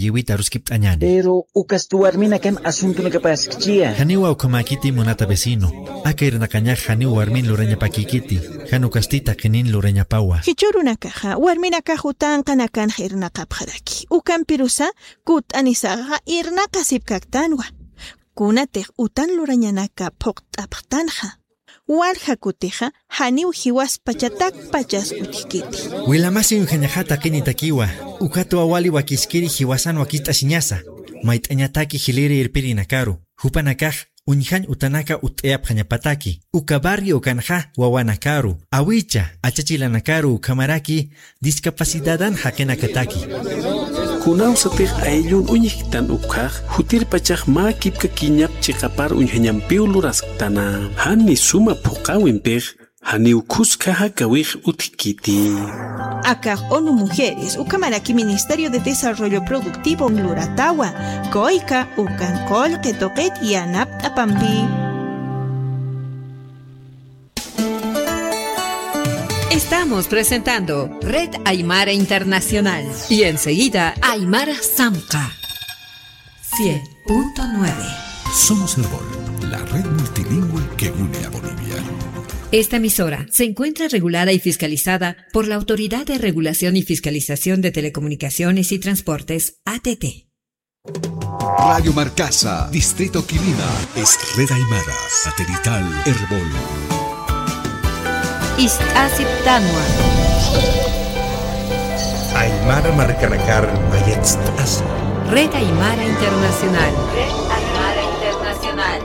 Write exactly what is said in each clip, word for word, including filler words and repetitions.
iwit aruskipt'añäni. Pero ukasti warminakan asuntunakapaskchiya. Janiwa ukhamäkiti munata vecino. Aka irnaqañax janiw warmin lurañapakïkiti. Jan ukasti taqinin lurañapawa. Jichhürunakaxa warminakax utanqanakanx irnaqapxaraki. Ukampirusa kutt'anisaxa irnaqasipkaktanwa. Kunatix utan lurañanaka phuqt'apxtanxa. Walja kutixa janiw jiwaspachatakpachas utjkiti. Wilamasi uñjañaxa taqinitakiwa, ukatwa wali wakiskiri jiwasan wakist'asiñasa, mayt'añataki jiliri irpirinakaru, jupanakax uñjañ utanaka utt'ayapxañapataki, uka barrio ukanxa wawanakaru, awicha, achachilanakaru ukhamaraki discapacidadan jaqinakataki. Kunawsatix ayllun uñjktan ukhax, jutirpachax mä kipkakiñap chiqapar uñjañampiw lurasktana. Jani suma phuqäwimpix, janiw khuska jakawix utjkiti. Akax ONU Mujeres, ukhamaraki Ministerio de Desarrollo Productivo luratawa, kuyka ukan qullqi tuqit yanapt'apampi. Estamos presentando Red Aymara Internacional y enseguida Aymara Samqa. Cien punto nueve. Somos Erbol, la red multilingüe que une a Bolivia. Esta emisora se encuentra regulada y fiscalizada por la Autoridad de Regulación y Fiscalización de Telecomunicaciones y Transportes, A T T. Radio Marcasa, Distrito Quilima, es Red Aymara, satelital Erbol. Ist'asiptanwa. Aymara markanakar mayatst'asa. Red Aymara Internacional. Red Aymara Internacional.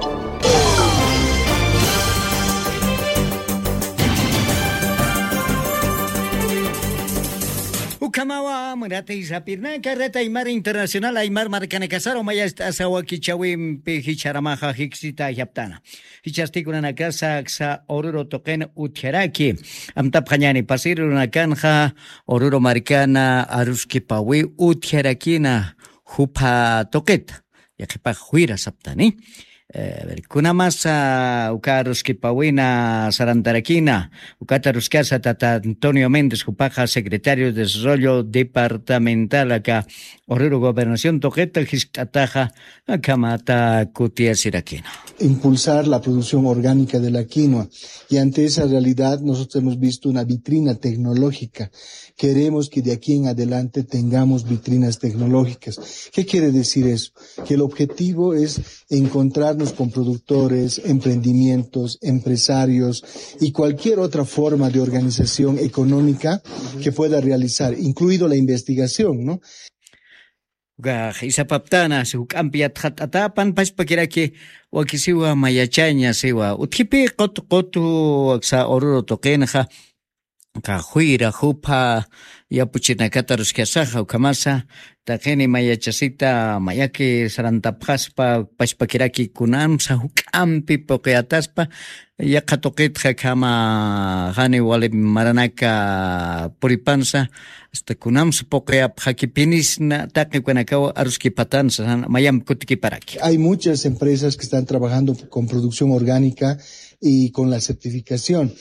Ukhamawa, munata sapirnaka, Red Aymara Internacional, Aymar markanakasaru mayatst'asa wakichäwimpi jichharamaxa jiksita ajaptana. Jichhasti kunanakasa aksa Oruro tuqin utjaraki. Amtapxañäni, pasir urunakanxa Oruro markana aruskipawi utjarakina jupha tuqita. Yaqhipax juyra saptani. Eh, a ver, kunamasa uka aruskipawina sarantarakina, ukata aruskasa tata Antonio Méndez, jupaxa secretario de Desarrollo Departamental aka Oruro Gobernación tuqita jiskt'ataxa, akhamata kutiyasirakina. Impulsar la producción orgánica de la quinoa. Y ante esa realidad, nosotros hemos visto una vitrina tecnológica. Queremos que de aquí en adelante tengamos vitrinas tecnológicas. ¿Qué quiere decir eso? Que el objetivo es encontrarnos con productores, emprendimientos, empresarios y cualquier otra forma de organización económica que pueda realizar, incluido la investigación, ¿no? Ukax isapaptana, si juk'ampi yatxat'atapan, pachpakiraki wakisiwa mayachaña, siwa. Utjipi qutu qutu aksa Oruro tuqinxa, aka juyra jupha yapuchinakata aruskasaxa, ukhamasa, taqini mayachasita, mayaki sarantapxaspa, pachpakiraki kunamsa juk'ampi puqiyataspa, yaqha tuqitxa akhama jani wali maranaka puripansa, hasta kunamsa puqiyapxakipinisna, taqi ukanakaw aruskipatansa, mayampi kutikiparaki. Hay muchas empresas que están trabajando con producción orgánica y con la certificación.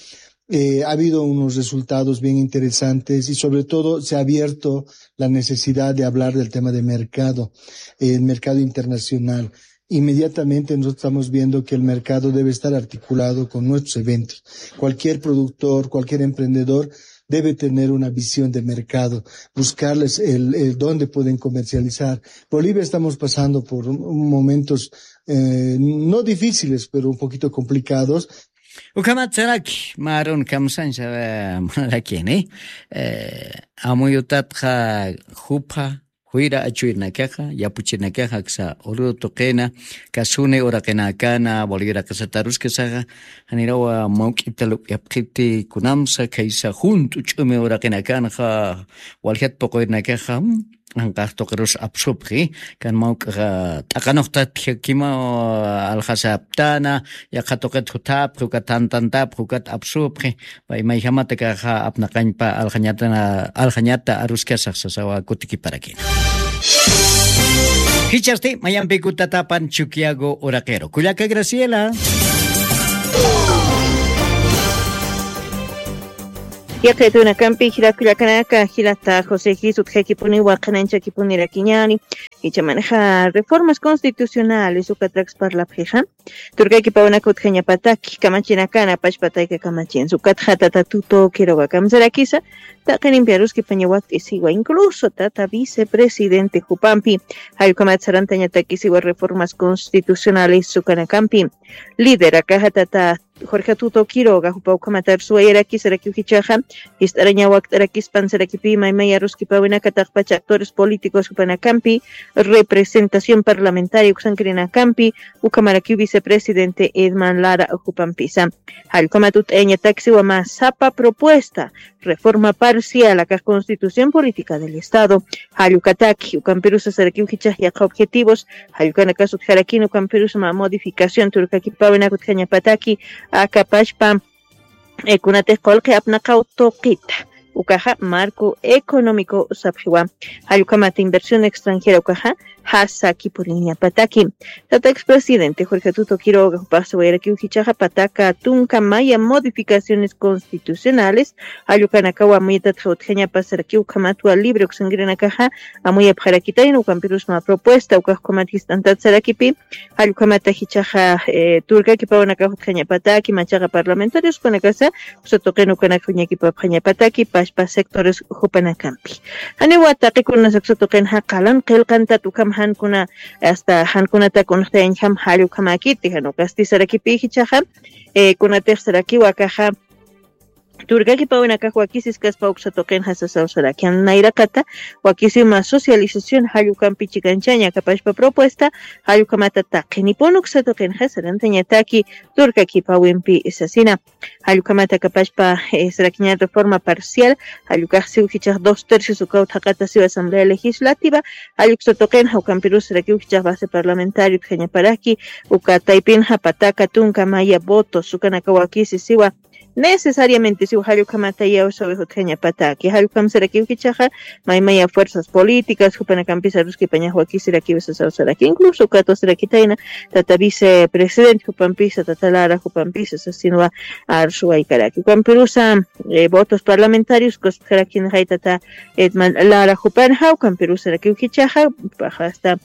Eh, ha habido unos resultados bien interesantes y sobre todo se ha abierto la necesidad de hablar del tema de mercado, el mercado internacional. Inmediatamente nosotros estamos viendo que el mercado debe estar articulado con nuestros eventos. Cualquier productor, cualquier emprendedor debe tener una visión de mercado, buscarles el, el dónde pueden comercializar. Bolivia estamos pasando por un, un momentos, eh, no difíciles, pero un poquito complicados. Ukhamat saraki, marun kamsansa, eh, marakini. Eh, amuyutatxa jupha, juyra achuyrnakaxa, yapuchirnakaxa, aksa Oruro tuqina, kasuni uraqinakana, Bolivia uraqisata aruskasaxa, janirawa mawk'ita lup'yapxiti kunamsa, khaysa junt'u ch'umi uraqinakanxa, waljat puquyrnakaxa, mm, anqax tuqirus apsupxi, kan mawk'axa t'aqanuxtatjakima, aljasaptana, yaqha tuqit juthapxi, ukat tantantapxi, ukat apsupxi, pay mayjamatakaxa apnaqañpa aljañata, aljañata aruskasax sasawa kutikiparakina. Jichhasti, mayampi kutatapan Chukiyago uraqiru. Kullaka Graciela. Yaqitunakampi jilat kullakanaka, jilata José Gis, utjakipuni waqananchakipuni rakiñani. Ichamanxa reformas constitucionales ukatrakis parlapxixa. Turkakipawanaka utjañapataki kamachinakana pachpatayka kamachinsa. Ukatxa tata Tuto Quiroga kamsarakisa, taqinimpi aruskipaña wakt'isiwa, incluso tata vicepresidente jupampi, jallkamat sarantañatakisiwa reformas constitucionales ukanakampi. Líder akaxa tata Jorge Tuto Quiroga, jupa ukhamat arsuwayarakisa, sarakiw jichhaxa, jist'araña wakt'arakispan sarakipi maymay aruskipawinaka taqpacha actores políticos jupanakampi, representación parlamentaria uksankirinakampi, ukhamarakiw vicepresidente Edman Lara jupampisa. Jallkamat ut'ayañataksiwa mä sapa propuesta, reforma parcial akax Constitución Política del Estado, jallukataki, ukampirusa sarakiw jichhax yaqha objetivos, jallukanakas utjarakini, ukampirusa mä modificación turkakipawinak utjañapataki, akapachpa, eh, kunatix qullqi apnaqaw tuqita. Ukaxa marco económico sapxiwa. Jallukhamat inversión extranjera ukaxa jasakipuniñapataki. Tata expresidente Jorge Tuto Quiroga jupax siwayarakiw jichhaxa pataka tunka maya modificaciones constitucionales, jallukanakawa amuyatatxa utjañapa sarakiw ukhamatwa libre uksankirinakaxa amuyapxarakitayna, ukampirus mä propuesta ukax ukhamat jist'antat sarakipi, jallukhamata jichhaxa, eh, turkakipawanakax utjañapataki, machaqa parlamentarios ukanakasa uksa tuqin ukanaka uñakipapxañapataki, pachpa sectores jupanakampi. Janiwa taqikunas uksa tuqinxa qalan qillqantat ukham jankuna, hasta jankunatak uñjtayañjam jallukhamakiti, jan ukasti sarakipi jichhaxa, eh, kunatix sarakiwa akaxa, turkakipawinakax wakisiskaspa uksa tuqinxa sasaw saraki. Jan nayraqata wakisiw mä socialización jallukampi chikanchaña akapachpa propuesta, jallukhamata taqinipun uksa tuqinxa sarantañataki turkakipawimpi sasina. Jallukhamata akapachpa, eh, sarakiña reforma parcial, jallukax siw jichhax dos tercios ukaw thaqata siw Asamblea Legislativa, jalluksa tuqinxa ukampirus sarakiw jichhax base parlamentario utjañaparaki, uka taypinxa pataka tunka maya votos ukanaka wakisi siwa, necesariamente siw jallukhamata yawsawi utjañapataki. Jallukhamsarakiw jichhaxa maymaya fuerzas políticas jupanakampis aruskipañax wakisirakiw sasaw saraki. Incluso ukatwa sarakitayna tata vicepresidente jupampisa, tata Lara jupampisa sasinwa arsuwaykaraki. Ukampirusa, eh, votos parlamentarios kuskarakinxay tata Edman Lara jupanxa, ukampirusarakiw jichhaxa, paxa hasta,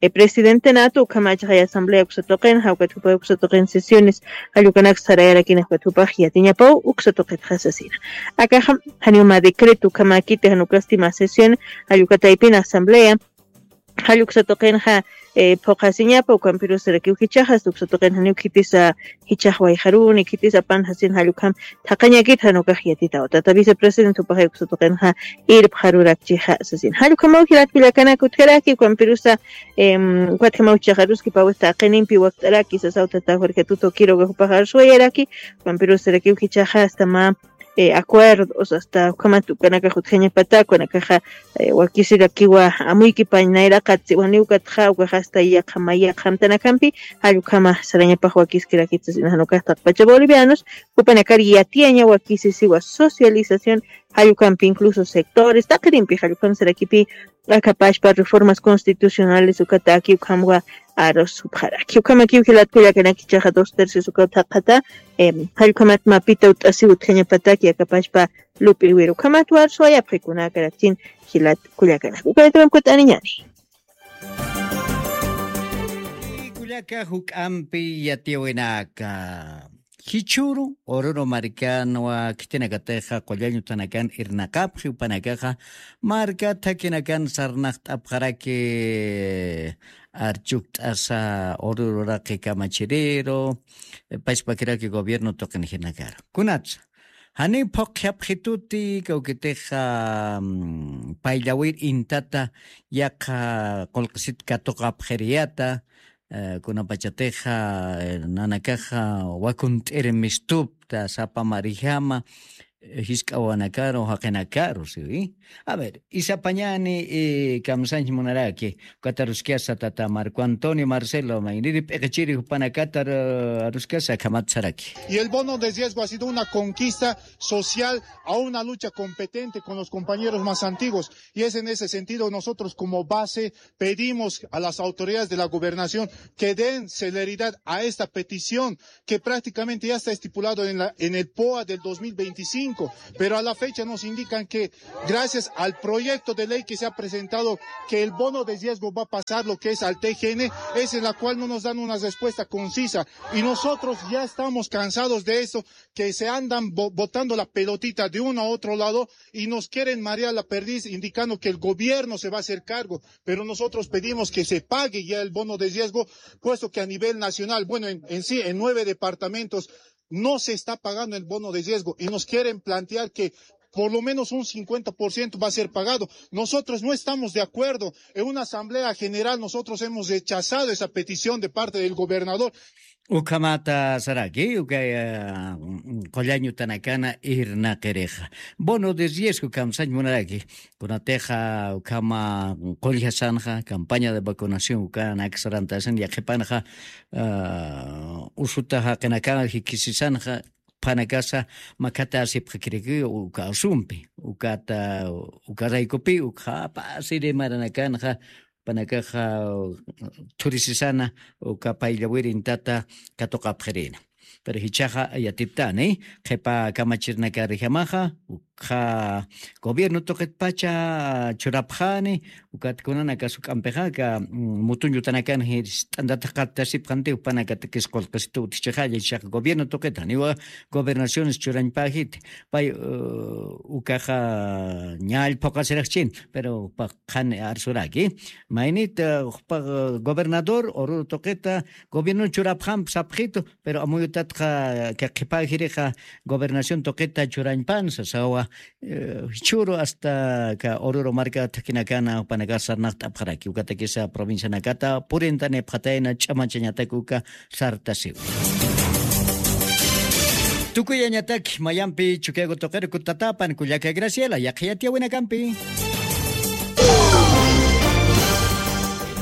eh, presidente natu, ukhamachaxay asamblea uksa tuqin, jawkat jupa uksa tuqin sesiones, jallukanak sarayarakin jawkat jupax yatiñapaw uksa tuqitxa sasina. Akaxa, janiw mä decreto ukhamakiti, jan ukasti mä sesión, jallukataypin asamblea, jalluksa tuqinxa, eh, phuqhasiñapa, ukampirusarakiw jichhaxa, uksa tuqin janiw khitisa jichhax wayxaruni, khitisa apan sasin jallukham thaqañakit jan ukax yatitaw. Tata vicepresidente jupaxay uksa tuqinxa irpxarurakchixa sasin. Jallukhamaw jilat kullakanak utjaraki, ukampirusa, em, ukatjamaw jichhax aruskipawista taqinimpi wakt'araki sasaw tata Jorge Tuto Quiroga jupax arsuwayaraki, ukampirusarakiw jichhaxa hasta mä, eh, acuerdos, hasta ukhamat ukanakax utjañapatak, ukanakaxa, eh, wakisirakiwa amuykipañ nayraqat siwaniw ukatxa, ukax hasta yaqha mä yaqha amtanakampi, jallukhama sarañapax wakiskirakit sasina jan ukax taqpacha bolivianos, jupanakar yatiyaña wakisi siwa socialización, jallukampi incluso sectores, taqirimpi jallukham sarakipi, akapachpa reformas constitucionales ukataki ukhamwa arusupxaraki. Ukhamakiw jilat kullakanak jichhaxa dos tercios ukaw thaqata, em, jallukhamat mapita ut'asiw utjañapataki akapachpa lup'iwir ukhamatwa arsuwayapxi kunakarakchin jilat kullakanak. Ukhamatwa amkut'aniñani. Kullaka juk'ampi yatiyawinaka. Jichhüru, Oruro markanwa khitinakatixa qullañ uthanakan irnaqapxi, jupanakaxa marka thakinakan sarnaqt'apxaraki, archukt'asa Oruro uraqi kamachiriru, pachpakiraki gobierno tuqinjinakaru. Kunatsa, janiw phuqhapxituti, kawkitixa, mm, payllawir intata yaqha qullqisit katuqapxiriyata, eh, kunapachatixa, eh, nanakaxa wakunt'ir mistupta sapa marijama, eh, jisk'awanakaru, jaqinakaru, siwi. A ver, isapañani, eh, kamsañch munaraki, ukat aruskasa tata Marco Antonio Marcelo, mayniri p'iqichiri jupanakata, eh, aruskasa akhamat saraki. Y el bono de riesgo ha sido una conquista social a una lucha competente con los compañeros más antiguos. Y es en ese sentido nosotros como base pedimos a las autoridades de la gobernación que den celeridad a esta petición que prácticamente ya está estipulado en la, en el poa del dos mil veinticinco. Pero a la fecha nos indican que gracias al proyecto de ley que se ha presentado, que el bono de riesgo va a pasar lo que es al T G N, es en la cual no nos dan una respuesta concisa. Y nosotros ya estamos cansados de eso, que se andan bo- botando la pelotita de uno a otro lado y nos quieren marear la perdiz, indicando que el gobierno se va a hacer cargo. Pero nosotros pedimos que se pague ya el bono de riesgo, puesto que a nivel nacional, bueno, en, en sí, en nueve departamentos, no se está pagando el bono de riesgo y nos quieren plantear que por lo menos un cincuenta por ciento va a ser pagado. Nosotros no estamos de acuerdo. En una asamblea general nosotros hemos rechazado esa petición de parte del gobernador. Ukhamata saraki, ukaya, mm, qullañutanakana irnaqirixa. Bono de riesgo kamsañ munaraki. Kunatixa ukhama qulljasanxa, campaña de vacunación ukanak sarantasan, yaqhipanxa, ah, usuta jaqinakana jikisisanxa, phanakasa makhatasipxakiriki uka asumpi, ukata, ukaraykupi, ukhapa siri maranakanxa, panakaxa thurisisana, uka payllawirintata katuqapxirina. Pero jichhaxa yatiptani, qhipa kamachirinakarjamaxa, ukha gobierno tuqitpacha churapxani, ukat kunanaka suk'ampixa, aka, mm, mutuñutanakan jist'antataq qatasipxanti, upanakatakis qullqisitu utjichixalla, jichhaxa gobierno tuqita, janiwa gobernaciones churañpäjiti. Pay, uh, ukaxa ña allphuqasiraqchin, pero jupax qhani arsuraki. Maynit, uh, jupax, uh, gobernador, Oruro tuqita, gobierno churapxamp sapxitu, pero amuyutatxa, ka qhipäjirixa gobernación tuqita churañpan, sasawa, eh, jichhüru hasta ka Oruro marka thakhinakana jupanakax sarnaqt'apxaraki, ukatakisa provincianakata purintanipxatayna ch'amachañatak uka sartasiwa. Tukuyañatak mayampi Chukiyago tuqiru kutatapan kullaka Graciela, yaqha yatiyawinakampi.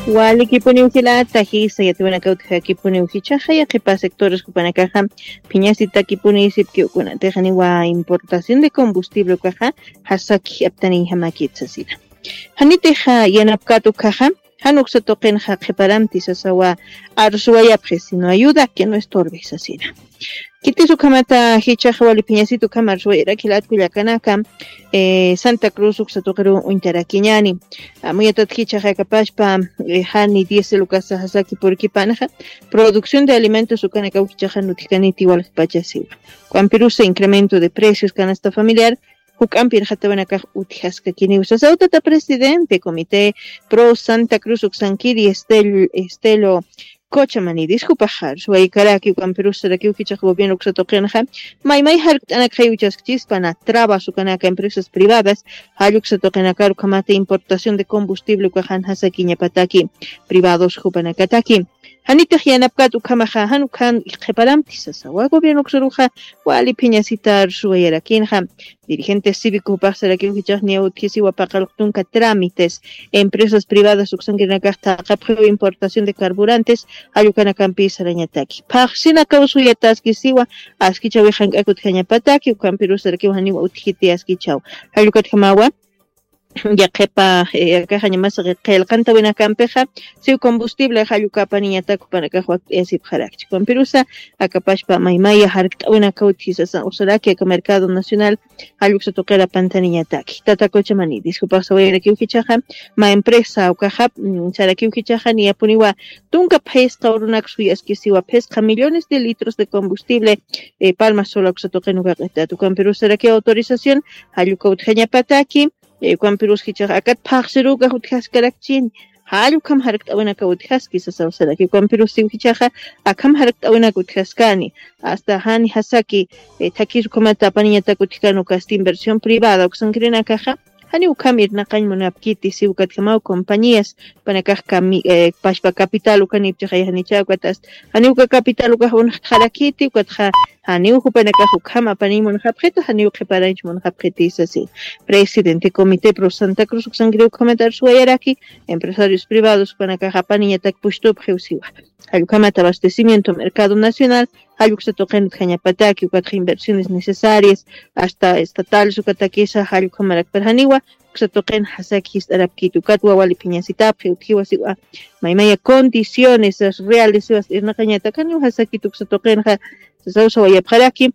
Walikipuniw jilata, jisa yatiyawinakawtxa, jichhaxa yaqhipa sectores jupanakaxa phiñasitakipuni sipki, ukunatixa janiwa importación de combustible ukaxa jasaki aptaniñjamakit sasina. Janitixa yanapkat ukaxa, jan uksa tuqinxa qhiparamti sasawa, arsuwayapxi, sino ayuda que no estorbe sasina. Khitis ukhamata jichhaxa wali phiñasit ukham arsuwayarak jilat kullakanaka, eh, Santa Cruz uksa tuqiru uñtarakiñani. Amuyatat jichhaxa akapashpa, eh, jani diésel ukasa jasaki purkipanxa, producción de alimentos ukanakaw jichhaxa utjkaniti waljapacha siwa. Ukhampirusa incremento de precios canasta familiar, juk'ampi irxatawinakax utjaskakiniw sasaw tata presidente Comité Pro Santa Cruz uksankiri Estel-, Estelo Cochamanidis, jupax arsuwaykaraki, ukhampirus sarakiw jichhax gobierno uksa tuqinxa maymay jarkt'anak jayuchaskchispa na trabas ukanaka empresas privadas, jall uksa tuqinakar ukhamata importación de combustible ukaxan jasakiñapataki privados jupanakataki. Janitix yanapkat ukhamaxa, jan ukhan qhiparamti sasawa gobierno uksaruxa wali phiñasita arsuwayarakinxa. Dirigente cívico jupax sarakiw jichhax niya utjisiwa paqallq tunka trámites empresas privadas uksankirinakax thaqapxiw importación de carburantes, jall ukanakampi sarañataki. Phaxsinakaw suyataskisiwa, askichäwix jank'ak utjañapataki, ukhampirus sarakiw janiw utjiti askichäw. Jall ukatjamawa, yaqhipa, eh, akaxañamas qillqantawinakampixa, siw combustible jall uka apaniñatak jupanakax wakt'ayasipxarakchi. Ukhampirusa, akapashpa maymaya jarkt'awinakaw utjisasa usaraki aka mercado nacional, jall uksa tuqir apantaniñataki. Tata Cochamanidis, jupax sawayarakiw jichhaxa, mä empresa ukaxa, mm, sarakiw jichhaxa niyapuniwa tunka phisqa urunak suyaskisiwa, phisqa millones de litros de combustible, eh, Palma Sola uksa tuqin uka q'itat. Ukhampirus sarakiw autorización, jall uka utjañapataki, eh, ukhampirus jichhaxa akat phaxsirukax utjaskarakchini. Jall ukham jarkt'awinakaw utjaski sasaw saraki. Ukhampirus siw jichhaxa akham jarkt'awinak utjaskani. Hasta jani jasaki, eh, thakis ukhamata apaniñatak utjkan ukasti inversión privada uksankirinakaxa, janiw ukham irnaqañ munapkiti, siw ukatjamaw compañías, jupanakax kami-, eh, pachpa capital ukanipchixay janicha ukat hasta, janiw uka capital ukax unxtxarakiti, ukatxa janiw jupanakax ukham apaniñ munxapxitu, janiw qhiparañch munxapxiti sasi. Presidente Comité Pro Santa Cruz uksankiri ukhamat arsuwayaraki, empresarios privados jupanakax apaniñatak pustupxiw siwa. Jall ukhamat abastecimiento mercado nacional, jall uksa tuqin utjañapataki, ukatxa inversiones necesarias, hasta estatales ukatakisa, jall ukhamarakpar janiwa, uksa tuqin jasaki jist'arapkiti, ukat wawali phiñasitapxi utjiwa siwa. Maymaya condiciones reales siwas irnaqañatak janiw jasakit uksa tuqinxa, sasaw sawayapxaraki,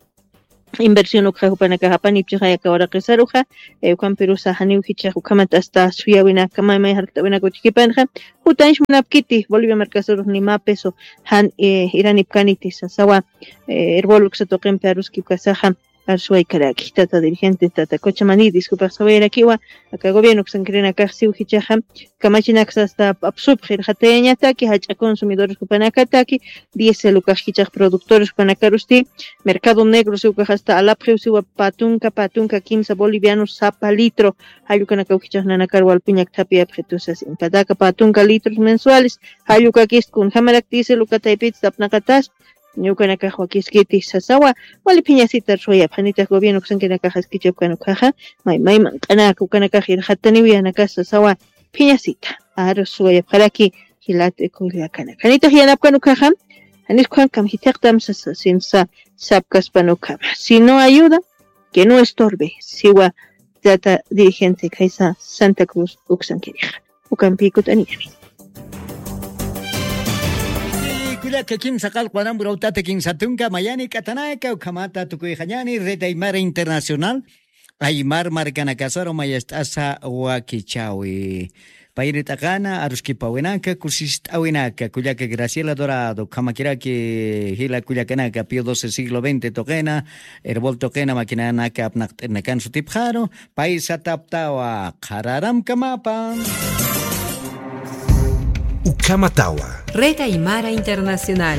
inversión ukxa jupanakax apanipchixay aka waraqisaruxa, eh, ukampirusa janiw jichhax ukhamat hasta suyawinaka, may may jarkt'awinaka utjkipanxa, jutanch munapkiti Bolivia markasarux ni mä peso jan, eh, iranipkaniti sasawa, eh, Erbol uksa tuqimpi aruskipkasaxa, arsuwaykaraki, tata dirigente, tata Cochamanidis, jupax sawayarakiwa, aka gobierno uksankirinakax siw jichhaxa, kamachinaksa hasta apsupxi irxatayañataki, jach'a consumidores jupanakataki, diésel ukax jichhax productores jupanakarusti, mercado negro siw ukax hasta alapxiw siwa pä tunka, pä tunka kimsa bolivianos sapa litro, jall ukanakaw jichhax nanakar walpiñak thapiyapxitusa, simpataka pä tunka litros mensuales, jall ukakist kunjamarak diésel uka taypitsa apnaqatas, ukanakax wakiskiti sasawa, wali phiñasita arsuwayapxi, janitix gobierno uksankirinakax askichapkan ukhaxa, may may manq'anaka ukanakax irxataniw yanakas sasawa, phiñasita arsuwayapxaraki, jilat kullakanaka. Janitix yanapkan ukhaxa, janis ukhan kamjithiqtam sasa, sinsa sapkaspan ukhama. Si no ayuda, que no estorbe, siwa tata dirigente khaysa Santa Cruz uksankirixa. Ukampi kut'aniyani. Kullaka kimsa qallqu aramburawtata kimsa tunka mayani k'atanaka ukhamata tukuyxañani Red Aymara Internacional, Aymar markanakasaru mayast'asa wakichawi. Payri t'aqana, aruskipawinaka, kusist'awinaka, kullaka Graciela Dorado, ukhamakiraki jila kullakanaka, Pío doce siglo veinte tuqina, Erbol tuqina, makinanaka apnaqt'irinakan sutipxaru, pay sataptawa, qhararamkamapa. Ukhamatawa. Red Aymara Internacional.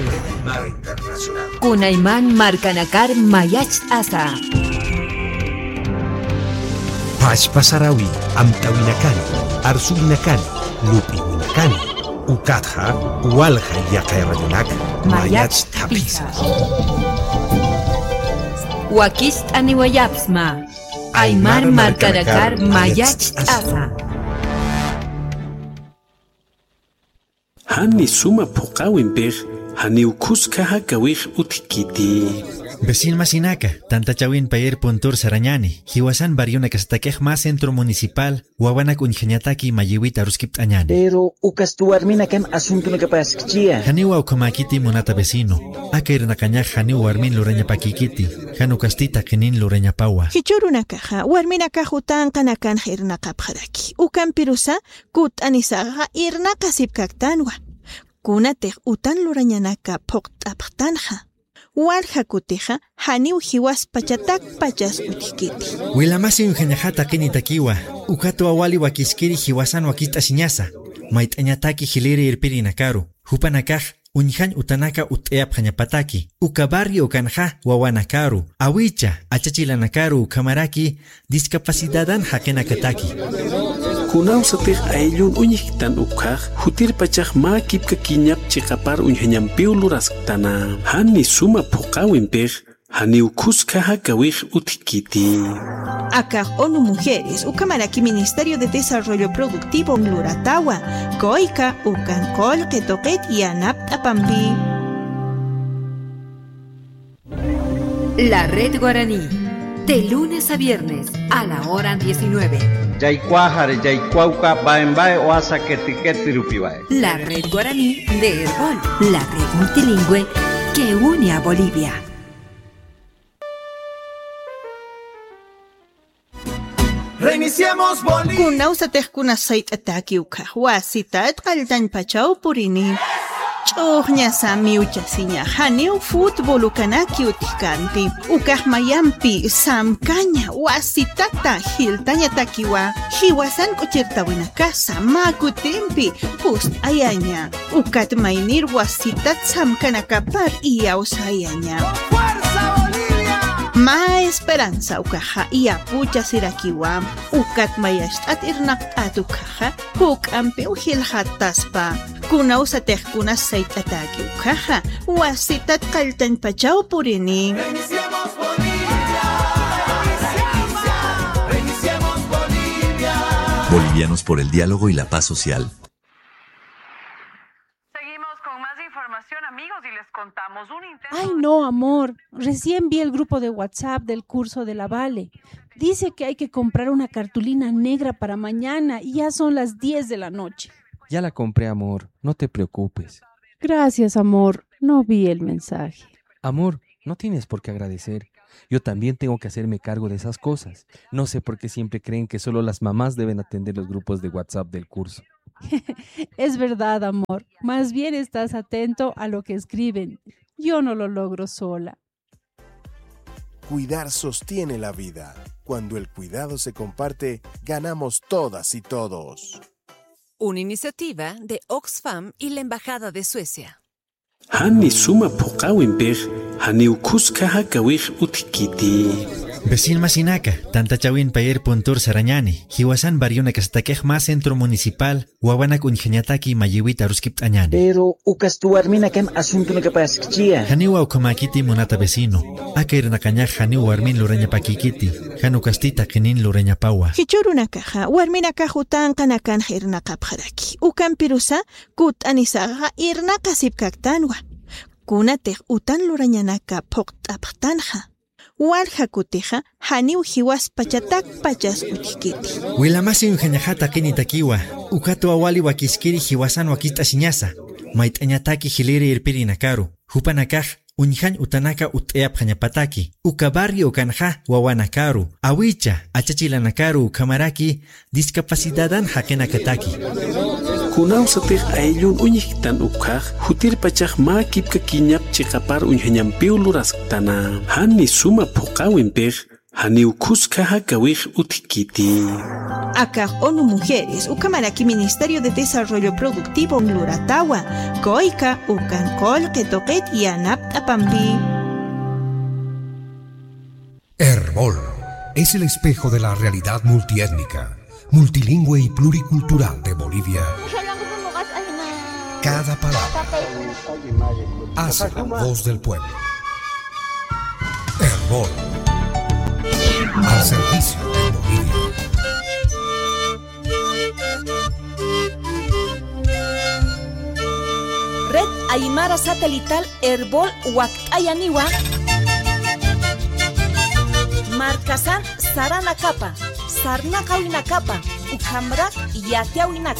Kunayman markanakar mayacht'asa. Pachpa sarawi amtawinakani, arsuwinakani, lup'iwinakani, ukatxa walja yaqay radionak mayacht'apisa. Wakicht'aniwayapxsma. Aymar markanakar mayacht'asa. Jani suma phuqäwimpix, janiw khuskha jakawix utjkiti. Vecin masinaka, tantachawin payir puntur sarañani, jiwasan barrionakasatakix mä centro municipal, wawanak uñjañataki mayiwit aruskipt'añani. Pero ukasti warminakan asuntunakapaskchiya. Janiwa ukhamäkiti munata vecino, aka irnaqañax janiw warmin lurañapakïkiti, jan ukasti taqinin lurañapawa. Jichhürunakaxa, warminakax utanqanakanx irnaqapxaraki. Ukampirusa, kut'anisaxa irnaqasipkaktanwa. Kunatix utan lurañanaka phuqt'apxtanxa. Walja kutixa janiw jiwaspachatakpachas utjkiti. Wilamasi uñjañaxa taqinitakiwa, ukatwa wali wakiskiri jiwasan wakicht'asiñasa, mayt'añataki jiliri irpirinakaru, jupanakax uñjañ utanaka utt'ayapxañapataki, uka barrio ukanxa wawanakaru, awicha, achachilanakaru ukhamaraki discapacidadan jaqinakataki. Kunawsatix ayllun uñjktan ukhax, jutirpachax mä kipka kiñap chiqapar uñjañampiw lurasktana. Jani suma phuqäwimpix, janiw khuskha jakawix utjkiti. Akax ONU Mujeres, ukhamaraki Ministerio de Desarrollo Productivo luratawa, kuyka ukan qullqi tuqit yanapt'apampi. La Red Guaraní, de lunes a viernes a la hora diecinueve. Yaykuwaxari, yaykuwawka, baen bae, wasa keti keti rupiwae. La Red Guaraní de Erbol, la red multilingüe que une a Bolivia. Reiniciemos Bolivia. Kunawsatix kunas sayt'ataki ukhax wasitat qalltañpachaw purini. Ch'uxñasa miwchasiñax janiw fútbol ukanaki utjkanti. Ukax mayampi samkaña wasitata jiltañatakiwa. Jiwasan k'uchirtawinakasa mä kutimpi pust'ayaña. Ukat maynir wasitat samkanakapar iyawsayaña. ¡Fuerza Bolivia! Mä esperanza ukaxa iyapuchasirakiwa. Ukat mayacht'at irnaqt'at ukaxa, juk'ampiw jilxataspa. Kunawsatix kunas sayt'ataki ukaxa, wasitat qalltañpachaw purini. Bolivianos por el diálogo y la paz social. Seguimos con más información, amigos, y les contamos un intento. Ay, no, amor. Recién vi el grupo de WhatsApp del curso de la Vale. Dice que hay que comprar una cartulina negra para mañana y ya son las diez de la noche. Ya la compré, amor. No te preocupes. Gracias, amor. No vi el mensaje. Amor, no tienes por qué agradecer. Yo también tengo que hacerme cargo de esas cosas. No sé por qué siempre creen que solo las mamás deben atender los grupos de WhatsApp del curso. Es verdad, amor. Más bien estás atento a lo que escriben. Yo no lo logro sola. Cuidar sostiene la vida. Cuando el cuidado se comparte, ganamos todas y todos. Una iniciativa de Oxfam y la Embajada de Suecia. Jani suma phuqäwimpix, janiw khuska jakawix utjkiti. Vecin masinaka, tantachawin payer puntur sarañani, jiwasan barrionakasatakix mä centro municipal, wawanak uñjañataki mayiwit aruskipt'añani. Pero ukasti warminakan asuntunakapaskchiya. Janiwa ukhamäkiti munata vecino, aka irnaqañax janiw warmin lurañapäkïkiti, jan ukasti taqinin lurañapawa. Jichhürunakax warminakax utanqanakanx irnaqapxaraki. Ukampirusa kutt'anisaxa irnaqasipkaktanwa. Kunatix utan lurañanaka phuqt'apxtanxa, walja kutixa janiw jiwaspachatakpachas utjkiti. Wilamasi uñjañaxa taqinitakiwa, ukatwa wali wakiskiri jiwasan wakicht'asiñasa, mayt'añataki jiliri irpirinakaru, jupanakax uñjañ utanaka utt'ayapxañapataki, uka barrio ukanxa wawanakaru, awicha, achachilanakaru ukhamaraki discapacidadan jaqinakataki. Kunawsatix ayllun uñjktan ukhax, jutirpachax mä kipkakiñap chiqapar uñjañampiw lurasktana. Jani suma phuqäwimpix, janiw khuska jakawix utjkiti. Akax ONU Mujeres, ukhamaraki Ministerio de Desarrollo Productivo luratawa, COICA, ukan qullqi tuqit yanapt'apampi. Erbol es el espejo de la realidad multiétnica, multilingüe y pluricultural de Bolivia. Cada palabra hace la voz del pueblo. Erbol, al servicio de Bolivia. Red Aymara Satelital Erbol wakt'ayaniwa. Markasan saranakapa, sarnaqawinakapa, ukhamrak yatiyawinaka.